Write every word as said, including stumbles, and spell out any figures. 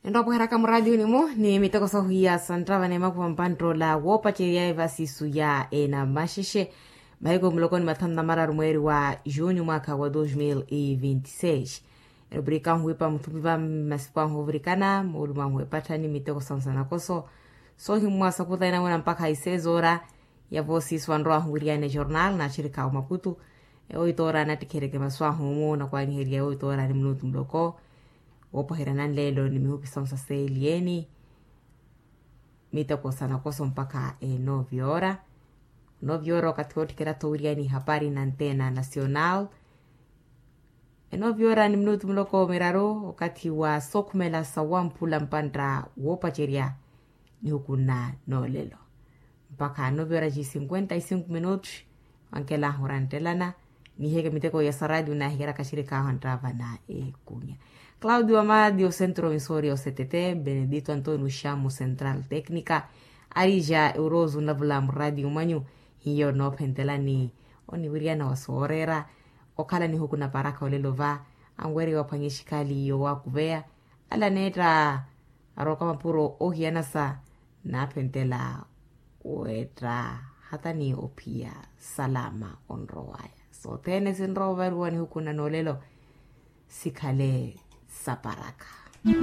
Enroopweheraka muraatiyuni-mu ni miteko sohwiya santtava n'emakuva mpantt'ola woopacerya evasisu ya enamaxexe. Mahiku muloko ni mathanu na mararu mweeri wa junyu mwaakha wa dos mil e vinti seis. Erupirik'ahu wiipa muthupi va masiku ahu ovirikana moolumo ahu epatthani miteko sansa nakoso soohimmwa sakuta enamwena mpakha isezoora. Yavoosiso anrowahu wiriyani ejornal naaxirikha omakutu. Ewo itoora anattikhereke masu ahu omu nakwaaniherya ewo itoora ni minutu muloko. Woopoherya nanleelo ni mihupi sonsa seeliyeeni. Miteko sa nakoso mpakha enoviora. Noviora okathi wootthikera-tho wiriyani hapari na antena nacional. Enoviora ni minutu muloko miraru okathi wa sookhumela sawamphula mpantta woopacerya. Nihuku nna noolelo mpakha noviora ci cinquenta e cinco minutu. Wankelahu oranttelana niheke miteko ya saradio nahikeraka xirikaahu anttava na ekunya. Claudio amadi osentro misori osetete benedito antonio xamu central tecnica. Arija euroso navula muradio mwanyu hiyo noophentelani oniwiriyana wa sooreera okhala nihuku na paraka olelo va anweriwa phwanya exikhali yowakuveya. Ala neetta arooka mapuro ohiyanasa naaphentela weetta hata ni ophiya salama onrowaya sothene sinrowa ovariwa nihuku na noolelo. Sikhale saparaka.